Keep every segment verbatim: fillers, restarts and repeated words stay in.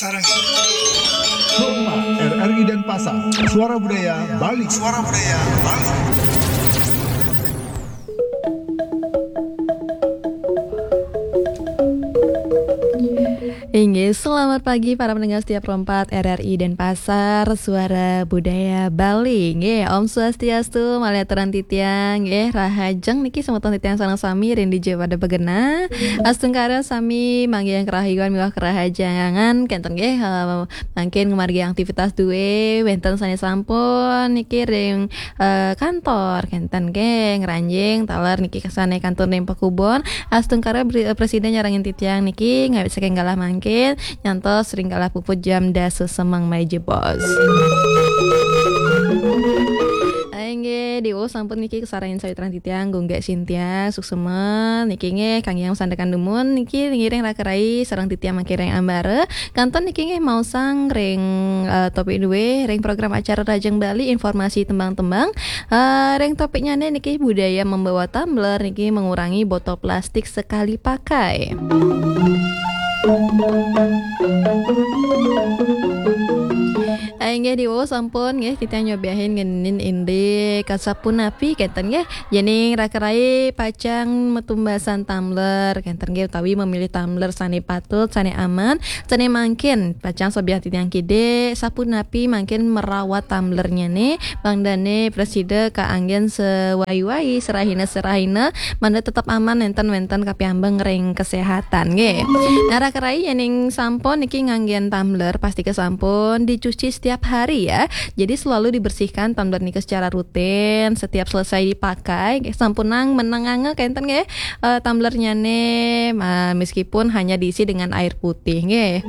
Sarang. Sukma, R R I Denpasar, Suara Budaya Bali. Suara Budaya Bali. Inggih, selamat pagi para pendengar setia Pro empat R R I Denpasar, Suara Budaya Bali. Inggih, Om Swastiastu, malih aturang titiang, inggih, rahajeng niki semeton titiang sareng sami ring dija pada begenah. Astungkara sami manggihin karahayuan miwah karahajengan, kenten nggih, eh, mangkin ngamargi aktivitas dué, wénten sané sampun niki ring, eh, kantor, kenten nggih, ngranjing taler niki sané kantun ring pakubon. Astungkara beri-, eh, prasida nyarengin titiang niki ngawit saking galah mangkin nyantos ring galah puput jam dasa semeng malih jebos. Inggih, diwau sampun niki kasarengin sawitra titiang, Gunggek Sintia, suksma niki nggih, kangge masandekan dumun niki ngiring raka rai sareng titiang mangkin ring ambara. Kantun niki nggih maosang ring, eh, topik dué ring program acara Rahajeng Bali, informasi tembang-tembang. Eh, ring topiknyané niki budaya membawa tumbler niki mengurangi botol plastik sekali pakai. Inggih diwau sampun nggih titiang nyobiahin ngenénin indik sapunapi kenten nggih. Yéning raka rai pacang matumbasan tumbler kenten nggih utawi memilih tumbler sané patut, sané aman, sané mangkin pacang sobiahang titiang kidik sapunapi mangkin merawat tumblernya nih, mangdané prasida kaanggén sawai-wai, serahina-serahina, mangda tetep aman nénten wénten kapiambeng ring kesehatan nggih. Nah, raka rai yéning sampun niki nganggén tumbler, pastika sampun dicuci setiap hari ya. Jadi selalu dibersihkan tumbler nika secara rutin setiap selesai dipakai. Nggih, sampunang menenganga kenten nggih, eh, tumblernya nih, ma-, meskipun hanya diisi dengan air putih nggih.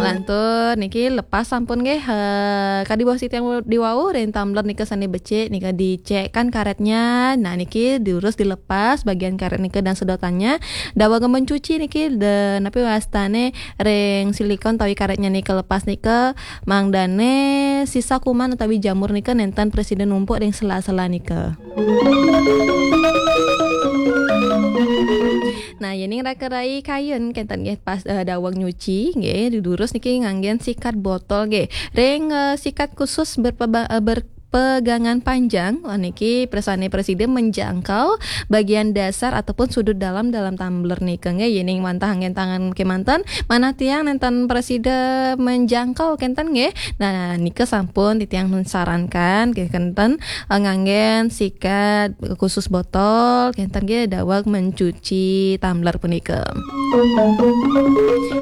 Lantur niki lepas sampun nggih, eh, kadi wau titiang diwau ring tumbler nika sané becik nika dicekkan karetnya. Nah, niki terus dilepas bagian karet nika dan sedotannya. Daweg mencuci niki de, napi wastané ring silikon utawi karetnya nika lepas nika mangdané sisa kuman utawi jamur nika nénten prasida numpuk ring sela-sela nika. Nah, yéning raka rai kayun kenten nggih pas, eh, daweg nyuci nggih, didurus niki nganggén sikat botol nggih. Ring, eh, sikat khusus berpeba-, eh, berpegangan panjang, wah niki pirsani prasida menjangkau bagian dasar ataupun sudut dalam dalam tumbler nika nggih. Yéning wantah anggén tangan kémanten, manah tiang nénten prasida menjangkau kenten nggih. Nah, nika sampun titiang sarankan nggih kenten, eh, nganggén sikat khusus botol, kenten nggih daweg mencuci tumbler punika.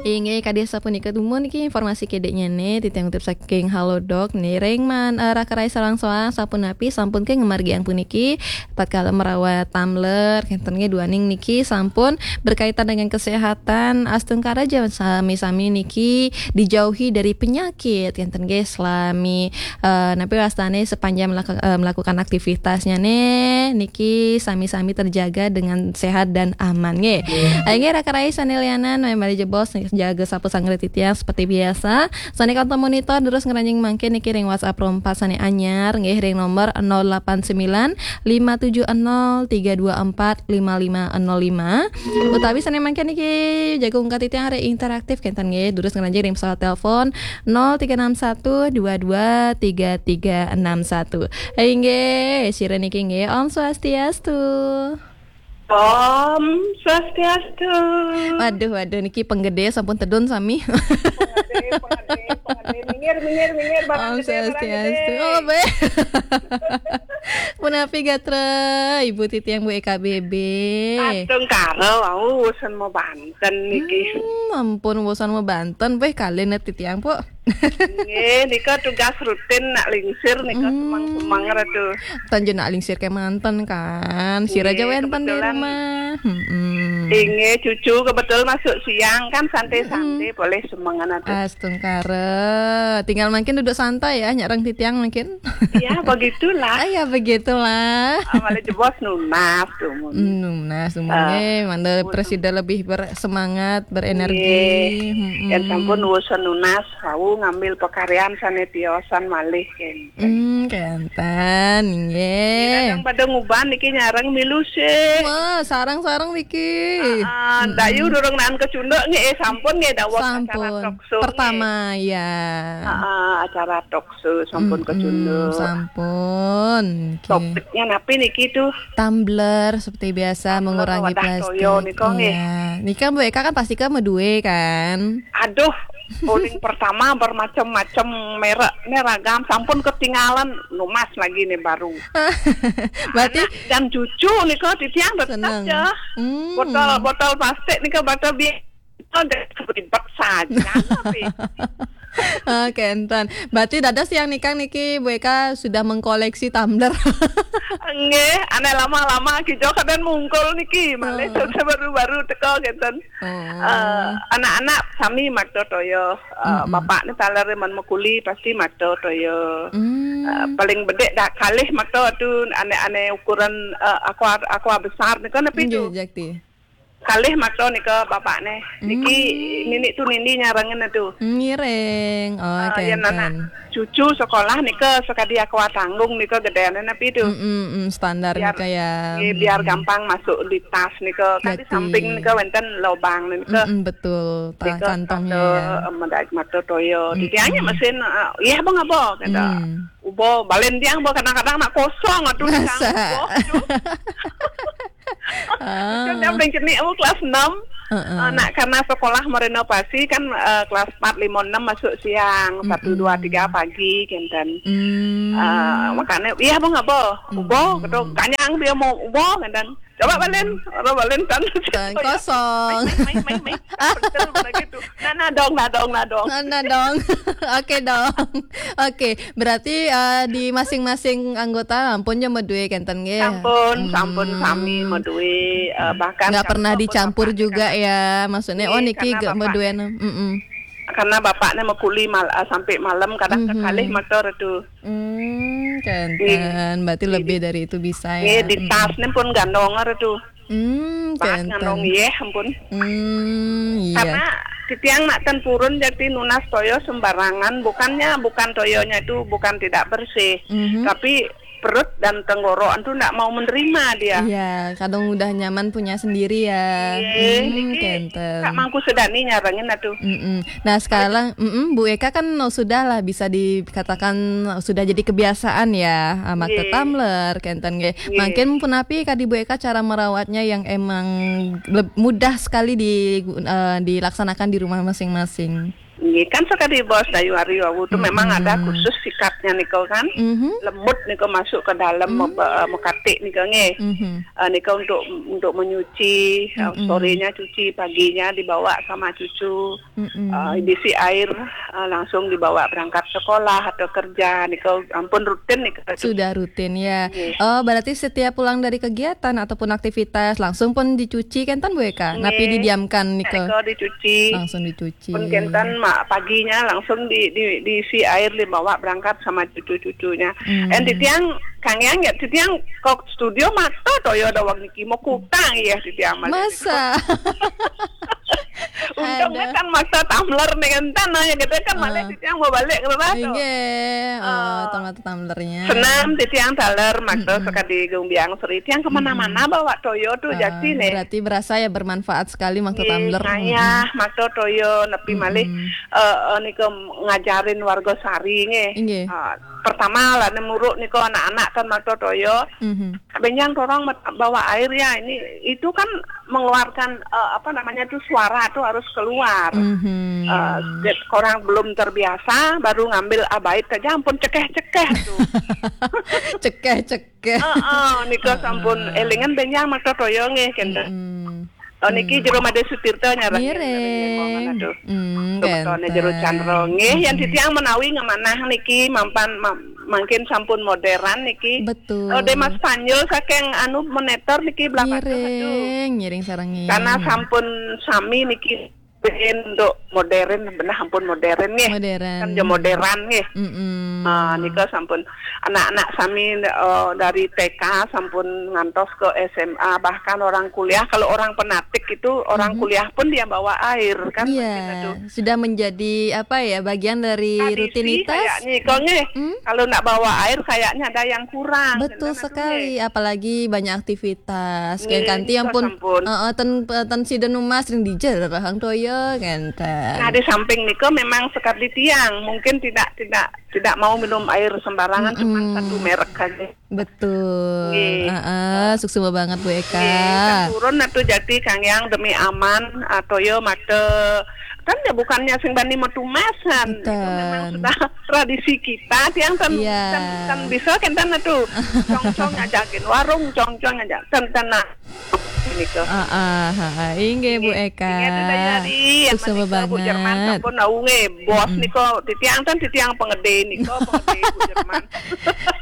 Inggih, kadi sapunika dumun niki informasi kediknya nih, titiang kutip saking Halodoc nih, ring man, eh, raka rai sareng soang sapunapi sampun ké ngamargiang puniki, tatkala merawat tumbler, kenten nggih duaning niki sampun berkaitan dengan kesehatan, astungkara ja sami-sami niki dijauhi dari penyakit, kenten nggih selami eh, napi wastané sepanjang melak-, eh, melakukan aktivitasnya nih, niki sami-sami terjaga dengan sehat dan aman nggih. Inggih raka rai sané lianan, malih jebos jaga sapu sanggra titiang seperti biasa. Sané kantun monitor terus ngranjing mangkin niki ring WhatsApp Pro empat sané anyar nggih ring nomor nol delapan sembilan lima tujuh nol tiga dua empat lima lima nol lima. Utawi sané mangkin niki jaga ungkat titiang ring interaktif kenten nggih, terus ngranjing ring pesawat telepon nol tiga enam satu dua dua tiga tiga enam satu. Inggih, sira niki nggih, Om Swastiastu. Om Swastiastu. Waduh, waduh, niki penggedé sampun tedun sami. Penggedé, penggedé, penggedé. Minggir, minggir, minggir, barang Om gedé, barang Swastiastu. Gedé. Oh, bé. Punapi gatra, Ibu titiang Bu E K B B. Astungkara, wau wusan mabanten niki. Hmm, ampun wusan mabanten, wéh kalih né titiang, Puk. Nggih, nika tugas rutin nak lingsir nika Hmm. semeng-semeng ratu. Tan ja nak lingsir kémanten kan. Sira ja Nggih, wénten di kebetulan. Rumah. Mm-mm. Inggih, cucu kebetul masuk siang kan santai-santai, Mm-mm. Boleh semengan atu. Astungkara. Tinggal mangkin duduk santai ya, nyareng titiang mangkin. Ya, begitulah. Ah, ya, begitulah. Ah, malih jebos nunas tuh, mun. Hmm, nunas tuh, mun. Ah, eh, mangda mun. Presida lebih bersemangat, berenergi. Nggih. Mm-mm. Yén sampun wusan nunas, wau ngambil pakaryan sané tiosan malih, kén. Hmm, kenten, nggih. Kadang pada nguban niki nyareng milu sih. Wah, sareng-sareng niki. Ah, Dayu durung naan kecunduk nggih, eh, sampun nggih dawuh acara Sampun. talk show nggih. Pertama, ya. Ah, ah, acara talk show sampun Mm-mm, kecunduk. Sampun. Oke. Topiknya napi niki tuh? Tumbler seperti biasa, Tumbler mengurangi wadah plastik. Toyo nika nggih. Iya. Nika Mbok Eka kan pasti kan medue kan? Aduh, paling pertama bermacam-macam merek, nih ragam, sampun ketinggalan, numas lagi nih baru. Berarti Anak dan cucu nika titiang tetap Seneng. ya. Hmm. Botol, botol plastik nika botol bi-, botol ribet saja, tapi Oke, enten. Berarti dados yang nikang niki Mbok Eka sudah mengkoleksi tumbler. Nggih, anak lama-lama kita kadang mungkul niki, malah Oh. sudah baru-baru teko ngeten. Oh. Eh, anak-anak sami makta toya, eh, Mm-mm. bapak ni taler men mekuli pasti makta toya. Hmm. Eh, paling bedek dah kalih makta tu anak-anak ukuran, eh, aqua, aqua besar ni kan apa Nggih, tu? Jakti. Kalih makta nika bapak ni. Niki Hmm. nini tu nini nyarengin tu. Ngiring. Oh, Ah, ya, nana. kenten. Cucu sekolah nika sekadi aqua tanggung nika gedean apa tu? Mm-mm, mm, standar Biar, nika ya. eh, biar Mm-mm. gampang masuk di tas nika. Kan di Jati. samping nika wenten lobang nika. Mm-mm, betul. Ta-, Nika kantongnya kata, ya. eh, medaik makta toya. Mm-mm. Titiangnya mesin, eh, iya bang apa kata. Hmm. Ubo balen tiang bo kadang-kadang nak kosong atuh di Masa? kanggo, tu. Ah. Kan dia paling kena oh, kelas enam. Heeh. Eh, nak karena sekolah merenovasi kan, eh, kelas empat, lima, enam masuk siang, satu, dua, Mm-mm. tiga pagi kenten. Hmm. Eh, makanya iya bang apa? Ubo, Hmm. kata kanyang dia mau ubo kenten. Coba balen, coba balen tan. Tan kosong. Main, main, main, main. Betul begitu. Nah, nah dong, nah dong, nah dong. Nah, nah dong. Oke dong. Oke, berarti, eh, di masing-masing anggota ampun ya medue kenten nggih. Sampun, sampun Hmm. sami medue, eh, bahkan Nggak kami pernah pun dicampur bapak juga kata ya. Maksudnya, oh, Iya, niki karena gak bapak meduenan. Mm-mm. Karena bapaknya mekuli mal-, eh, sampai malam kadang Mhm. kekalih motor itu. Hmm, Nggih. kenten. Berarti Nggih. lebih dari itu bisa Nggih, ya. di Mm-mm. tasnya pun gandong itu. Hmm, Bakat kenten. ngandong, iya, ampun. Hmm, iya. Karena titiang nak ten purun jadi nunas toyo sembarangan, bukannya, bukan toyonya itu bukan tidak bersih, Mhm. tapi perut dan tenggorokan tuh ndak mau menerima dia. Iya, kadang udah nyaman punya sendiri ya. Iya, Hmm, niki kenten. Kak Mangku Sedani nyarengin atuh. Mm-mm. Nah, sekarang, mm-mm, Bu Eka kan sudah lah bisa dikatakan sudah jadi kebiasaan ya, ah, makta Nggih. tumbler, kenten nggih. Nggih. Mangkin punapi kadi Bu Eka cara merawatnya yang emang leb-, mudah sekali di, eh, dilaksanakan di rumah masing-masing? Nggih, kan sekadi bos Dayu Ari wau tu Mm-mm. memang ada khusus sikatnya niko kan. Mhm. Lembut niko masuk ke dalam Mm. me-, eh, mekatik niko nggih. Mhm. Eh, niko untuk, untuk menyuci, eh, Mm-mm. sorenya cuci, paginya dibawa sama cucu. Mm-mm. Eh, diisi air, eh, langsung dibawa berangkat sekolah atau kerja. Niko ampun rutin niko. Sudah rutin ya. Nggih. Oh, berarti setiap pulang dari kegiatan ataupun aktivitas langsung pun dicuci kenten Bu Eka? Napi Nggih. didiamkan niko? Niko dicuci. Langsung dicuci. Pun kenten mak paginya langsung di, di, diisi air dibawa berangkat sama cucu-cucunya. Hmm. En titiang kang yang ya titiang kok studio makta toyo dawang niki mau kutang ya titiang masih Masa? Untungnya Ada. kan makta tumbler nih kan tanah ya gitu kan malah Ah. titiang mau balik ke rumah tuh. Nggih. Oh, Ah. tong makta tumblernya. Senam titiang taler makta Hmm. sekadi gumbiang seri tiang kemana-mana Hmm. bawa toyo tuh Ah, jadi nih. Berarti berasa ya bermanfaat sekali makta Nggih, tumbler. Nah, ya, Mm-mm. makta toyo nepi Mm-mm. malih, eh, eh, nika ngajarin warga sari nggih. Nggih. Ah, pertama lah nemuruk nika anak-anak kan makta toyo. Mhm. Benjang torong met-, bawa air ya ini itu kan mengeluarkan, eh, apa namanya tuh suara tuh harus keluar. Mhm. Eh, korang belum terbiasa baru ngambil abait aja ampun cekeh-cekeh tuh. Cekeh-cekeh. Heeh, nika Heeh. sampun elingan benjang makta toyo nggih kenten. Mm-mm. Oh, niki Hmm. jero Made Sutirta nyarang Ngiring. Ngiring. Hmm, Betone kenten. Jero Candro nggih, yang Hmm. titiang menawi ngemanah niki mampan ma-, mangkin sampun modern niki. Betul. Oh, Dema Spanyol saking anu moneter niki belakang Ngiring, ngiring sareng ngiring. Karena sampun sami niki untuk modern, benah ampun modern nggih. Modern. Kan ya modern nggih. Mm-mm. Ah, nika sampun anak-anak sami, eh, dari T K sampun ngantos ke S M A, bahkan orang kuliah. Kalau orang Penatik itu, orang Mhm. kuliah pun dia bawa air, kan. Iya, mungkin itu sudah menjadi, apa ya, bagian dari tradisi rutinitas. Kayaknya, kok nggih. Hmm? Kalau ndak bawa air, kayaknya ada yang kurang. Betul sekali, apalagi banyak aktivitas. Nggih, kayak kanti yang pun, sampun. Heeh, ten, ten sida numas ring dija rahang toya, kan. Nah, di samping nika memang sekar di tiang, mungkin tidak, tidak, tidak mau minum air sembarangan, cuma Mm-mm. satu merek saja. Betul. Nggih. Heeh, suksma banget, Bu Eka. Nggih, kan turun atuh jati Kang Yang demi aman, ah, toya mata. Kan ya bukannya sing bani metumasan. Itu memang sudah tradisi kita, tiang tan, iya. tan, tan bisa kenten atuh. Congcong aja gin warung, congcong aja. Ten, ten, nah. Nika. Ah, ah, ah, ah. Inggih, Bu Eka. Inggih, atuh daya ri, yang suksma menika, Bu Jerman banget. Sampun tahu nggih, bos Mm-mm. nika, titiang ten, titiang pengede nika, pengede Bu Jerman.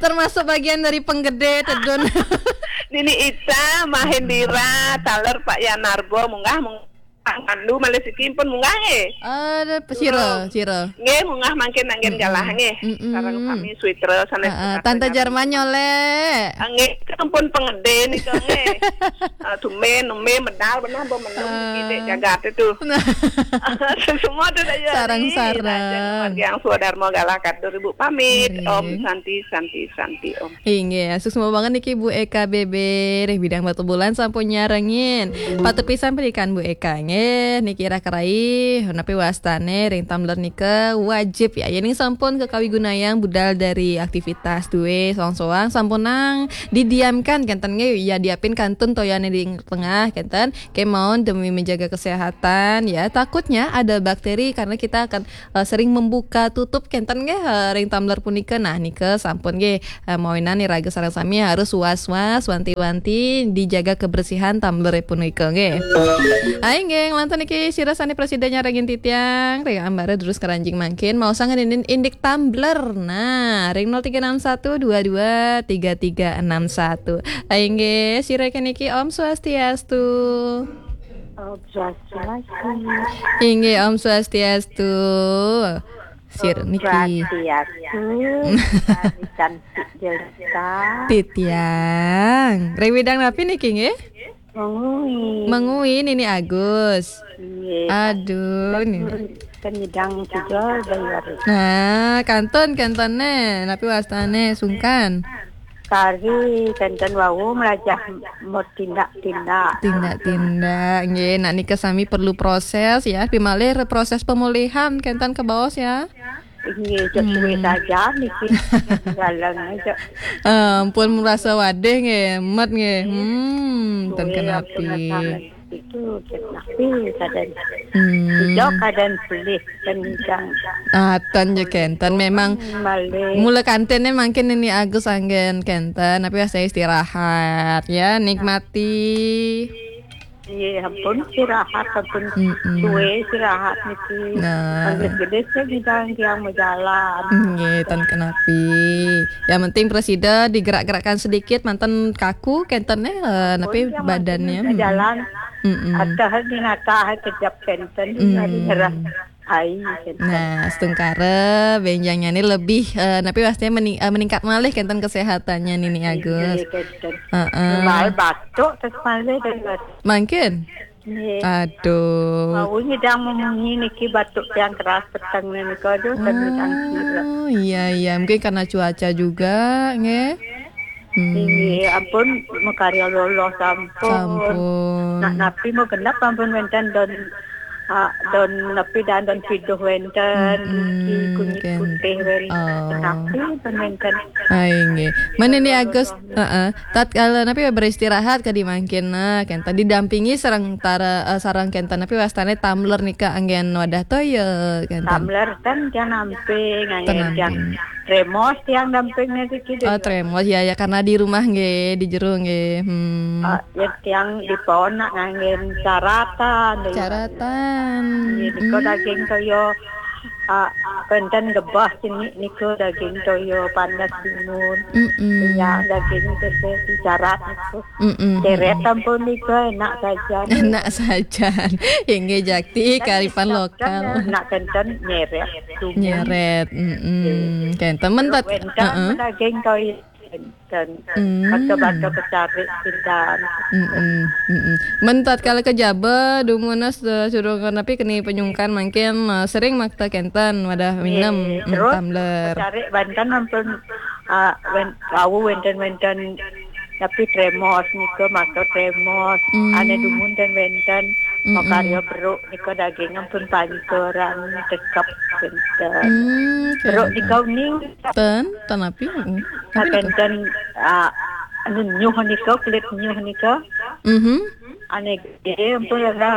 Termasuk bagian dari penggede, tedun. Nini Ita, Mahendira, taler Pak Yanarbo, munggah, munggah. Pandu malih siki pun munggah nggih. Ada sira, sira. Nggih, munggah mangkin anggen Mm-mm. galah nggih. Mm-mm. Sareng sami switra sanés. Heeh, Tante Jarman nyolek. Ah, nggih, sampun pengede nika nggih. Ah, tumben, tumben medal benah, mbok menung. Ah. Titik jagat itu. Nah. Semua tuh daya ri. Sareng-sareng. Raja Margi Angsu Dharma galah katur Ibu pamit. Nggih. Om Santi, Santi, Santi, Om. Inggih, suksma banget niki Bu Eka B B, ring Bidang Batubulan sampun nyarengin. Patut pisan pendidikan Bu Eka nggih, niki ira kerai, napi wastane ring tumbler nika wajib ya. Yening sampun kekawi gunayang budal dari aktivitas duwe soang-soang, sampunang didiamkan kenten nggih, ya diapin kantun toyane ring tengah kenten, kemaon demi menjaga kesehatan ya. Takutnya ada bakteri karena kita akan eh, sering membuka tutup kenten nggih, eh, ring tumbler punika. Nah, nika sampun nggih, eh, mawinan iraga sareng sami harus was-was, wanti-wanti dijaga kebersihan tumbler punika nggih. Ayo nggih, nglantur niki sira sane prasida nyarengin titiang, ring ambara terus keranjing mangkin, mau sangan indik tumbler. Nah, ring nol tiga enam satu dua dua tiga tiga enam satu. Ayo nggih, sira keniki Om Swastiastu. Om Swastiastu. Inggih, Om Swastiastu. Sir Om niki. Swastiastu. Kami cantik jelita. Titiang. Ring widang napi niki nggih? Mengui. Mengui Nini Agus. Nggih. Aduh, kan, Nini. Kan nyidang juga bayar. Nah, kantun, kantun ne. Napi wastane sungkan? Kari kenten wau melajah mau tindak-tindak. Tindak-tindak, nggih. Nak nika sami perlu proses ya. Pimalih proses pemulihan kenten kebaos ya. Nggih, cek suwe saja niki. Galang aja. Eh, ampun merasa wadih nggih, met nggih. Hmm, ten kenapi. Itu tapi kadang Hmm. Ijo kadang pelih kencang. Ah, ten je kenten memang malih. Mula kantene mangkin Nini Agus anggen kenten, tapi saya istirahat ya, nikmati. Iya, ampun istirahat, ampun Mm-mm. suwe istirahat niki. Nah. Lanjut gede sih bidang yang berjalan. Nggih, ten kenapi. Yang penting presida digerak-gerakkan sedikit, manten kaku kenten eh, napi badannya. Jalan. Mm-mm. Atah di natah kejap kenten, mm, hari nyerah. Ai, kenten. Nah, setungkara benjangnya ini lebih eh, napi pastinya mening- eh, meningkat malih kenten kesehatannya Nini Agus. Iya, kenten. Heeh. Mal batuk terus malih dari batuk. Mangkin? Nggih. Aduh. Mau nyidang memungi niki batuk yang keras peteng nika, aduh, sambil tangkil. Oh, iya, iya. Mungkin karena cuaca juga, nggih. Hmm. Nggih, ampun, makarya lolos sampun. Sampun. Nak napi mau genap ampun wenten don, ah, don napi dan don piduh wenten, mm-mm, niki kunyit putih wenten. Oh. Tapi pun wenten. Ai, nggih. Mana ni Agus? Heeh. Tatkala napi beristirahat kadi mangkin, nah, kenten didampingi sareng tara, eh, sareng kenten napi wastane tumbler nika anggen wadah toya, kenten. Tumbler kan tiang namping, anggen tiang tremos tiang damping niki. Oh, tremos, ya, ya, karena di rumah nggih, di jero nggih. Hmm. Ah, ya, tiang di pohon nak nganggen caratan. Caratan. Nggih, nika daging toya Ah, kenten gebah cenik nika daging toya panas timun. Mm-mm. Ya, daging tese dicarat niku. Mm-mm. Ceret ampun nika enak saja. Enak saja. Inggih jakti karipan lokal. Enak kenten nyeret. Nyeret. Mm-mm. Kenten mentat. Wenten daging toya. Dan hmm. Bangka-bangka pecarik pindan. Mm-mm, mm-mm. Men tatkala kejaba dumun, eh, surungan napi keni penyungkan mangkin, eh, sering makta kenten wadah minem, mm, terus tumbler. Pecarik banten ampun, ah, wen-, wau wenten-wenten tapi tremos nika makta tremos. Hmm. Ane dumun dan wenten makarya beruk nika daging ampun pancuran tekep kenten. Hmm, beruk kenten. Nika uning. Ten, ten api? Mm. Akan ten, ah, anu nyuh nika, kulit nyuh nika. Mhm. Ane gede ampun rerah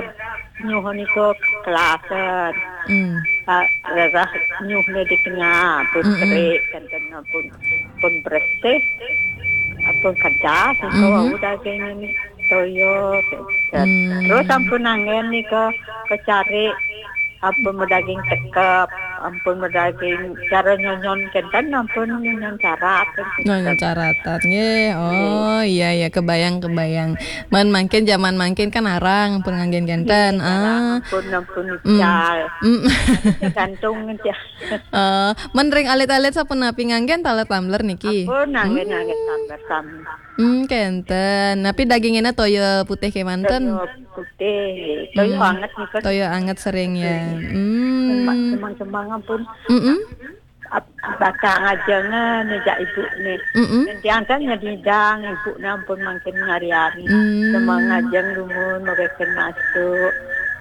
nyuh nika kelasan. Hmm. Ah, rerah nyuh ni di tengah, pun kerik, kenten ampun, pun bersih, ampun kedas, nika wau daging ini toyo, kenten. Hmm. Terus ampun angen nika kecari ampun medaging tekep, ampun medaging cara nyonyon kenten, ampun nyonyon carat. Nyonyon caratan, nggih. Oh, iya, iya, kebayang, kebayang. Man mangkin, zaman mangkin kan arang ampun nganggen kenten. Nggih, arang ah. Ampun, ampun mm. Ical. Mm. Tergantung aja. Eh, men ring alit-alit sapunapi nganggen taler tumbler niki? Ampun, nganggen, hmm. Nganggen tumbler sami. Hmm, kenten. Napi dagingnya toya putih kemanten? Toya putih. Toya hmm. Anget nika. Toya anget sering ya. Hmm. Cemang-cemang ampun. Mm-mm. Ap-, bakal ngajengan ni jak ibu ni. Mm-mm. Nanti angkat nyedidang ibu ni ampun mangkin ngari-ari. Hmm. Cemang ngajeng dumun mereka masuk.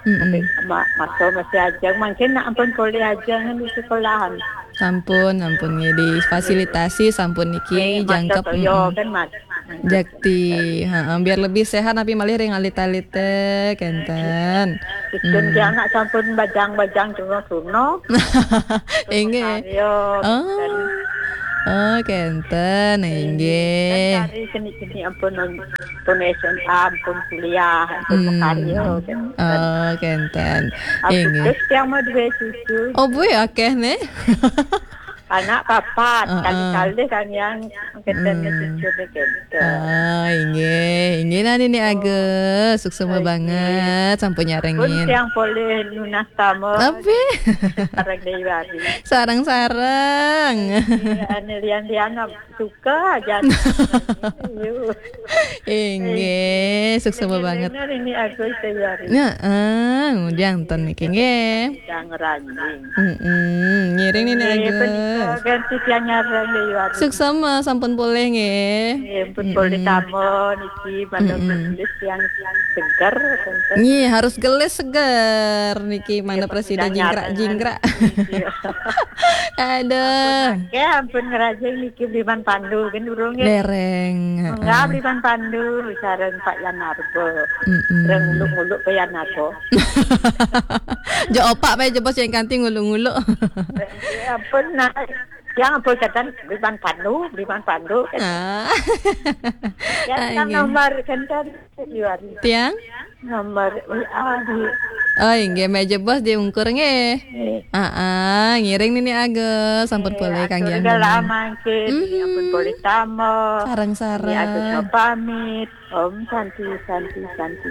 Mm-mm. Ma-, masuk masih ajeng. Mangkin nak ampun boleh ajeng di sekolahan. Sampun, sampun nggih difasilitasi sampun niki. Eh, jangkep toyo mm-mm. Kan, Mas. Jakti, heeh, biar lebih sehat napi malih ring alit-alite kenten. Istun hmm. Dia anak sampun bajang-bajang tuna-tuna. Inggih. Oh. Oh, kenten, inggih. Kan kari seni-seni ampun, ampun S M A, ampun kuliah, ampun hmm. Makarya, kenten. Oh, kenten. Inggih. Terus yang mau dua cucu. Oh, bu, akeh nih. Anak papat, uh-uh. Kali-kali kan yang keten hmm. Cucu ni kenten. Ah, inggih, inggih nah Nini Agus, suksma banget sampun nyarengin. Pun yang boleh nunas tamu. Tapi sareng Dewi Wari. Sareng-sareng. Iya, ane lian-lian suka aja. Inggih, suksma banget. Ini aku Dewi Wari. Nah, eh, ngundang ten niki nggih. Yang ranjing. Mm-mm. Ngiring Nini Agus. Ganti tiang nyareng Dewi Wari. Suksma sampun polih nggih. Nggih, pun polih tamu niki malam nulis yang seger, kenten. Nggih, harus gelis seger niki mana presiden jingkrak-jingkrak. Iya. Aduh. Ya ampun ngerajin niki Bliman Pandu kan durung ya. Dereng. Enggak Bliman Pandu sareng Pak Yanarbo. Mm-mm. Reng nguluk-nguluk ke Yanarbo. Jo opak bae jebos yang kanti nguluk-nguluk. Ya ampun nah. Yang ampun kenten Bliman Pandu, Bliman Pandu. Ah. Ya kan nomor kenten Yuari. Tiang? Nomor W A di. Oh, inggih meja bos diungkur nggih. Heeh, ngiring Nini Agus sampun polih kangge. Sudah lama nggih, ampun polih tamu. Sareng-sareng. Agus pamit. Om Santi, Santi, Santi.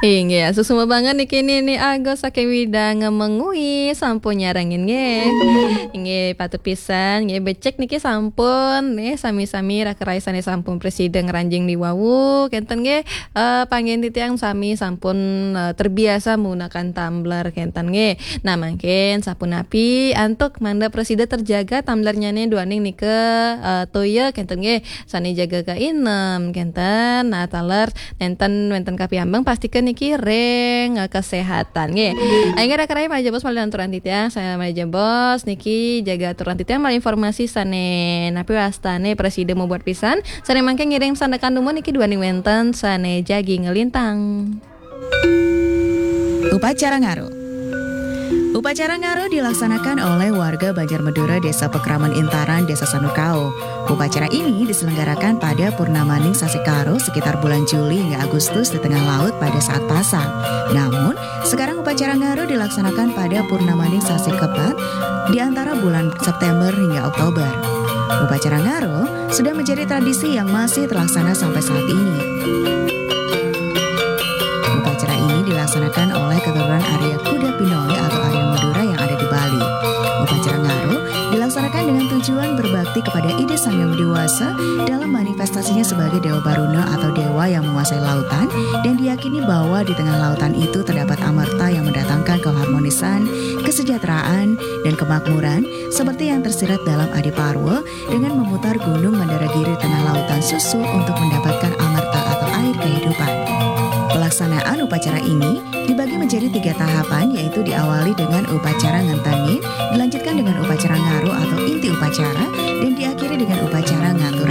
Inggih, suksma banget niki Nini Agus saking Widang Mengwi sampun nyarengin nggih. Inggih, patut pisan nggih becik niki sampun nggih sami-sami raka rai sane sampun presida ngranjing di wau kenten nggih. Eh, panggen titiang sami sampun, eh, terbiasa menggunakan tumbler kenten nggih. Nah, mangkin sapunapi antuk mangda presida terjaga tumblernyane duaning nika, eh, toya kenten nggih. Sane jaga kainem kenten. Nah, taler nenten wenten kapiambeng pastika niki ring, eh, kesehatan nggih. Inggih raka rai malih jebos malih aturan titiang, saya malih jebos niki jaga aturan titiang malih informasi sane napi wastane presida mabuat pisan. Sane mangke ngiring sandekan dumun niki duaning wenten sane jagi ngelintang. Upacara ngaru. Upacara Ngaro dilaksanakan oleh warga Banjar Madura, Desa Pekraman Intaran, Desa Sanukau. Upacara ini diselenggarakan pada Purnamaning Sasi Karo, sekitar bulan Juli hingga Agustus, di tengah laut pada saat pasang. Namun, sekarang Upacara Ngaro dilaksanakan pada Purnamaning Sasi Kepat, di antara bulan September hingga Oktober. Upacara Ngaro sudah menjadi tradisi yang masih terlaksana sampai saat ini. Upacara ini dilaksanakan oleh keturunan Arya Kuda Pinoli atau Arya Madura yang ada di Bali. Upacara Ngaro dilaksanakan dengan tujuan berbakti kepada Ida Sang Hyang Dewasa dalam manifestasinya sebagai Dewa Baruna atau dewa yang menguasai lautan, dan diyakini bahwa di tengah lautan itu terdapat amerta yang mendatangkan keharmonisan, kesejahteraan, dan kemakmuran, seperti yang tersirat dalam Adi Parwa, dengan memutar Gunung Mandaragiri di tengah lautan susu untuk mendapatkan amerta atau air kehidupan. Pelaksanaan upacara ini dibagi menjadi tiga tahapan, yaitu diawali dengan upacara ngentangin, dilanjutkan dengan upacara ngaro atau inti upacara, dan diakhiri dengan upacara ngatur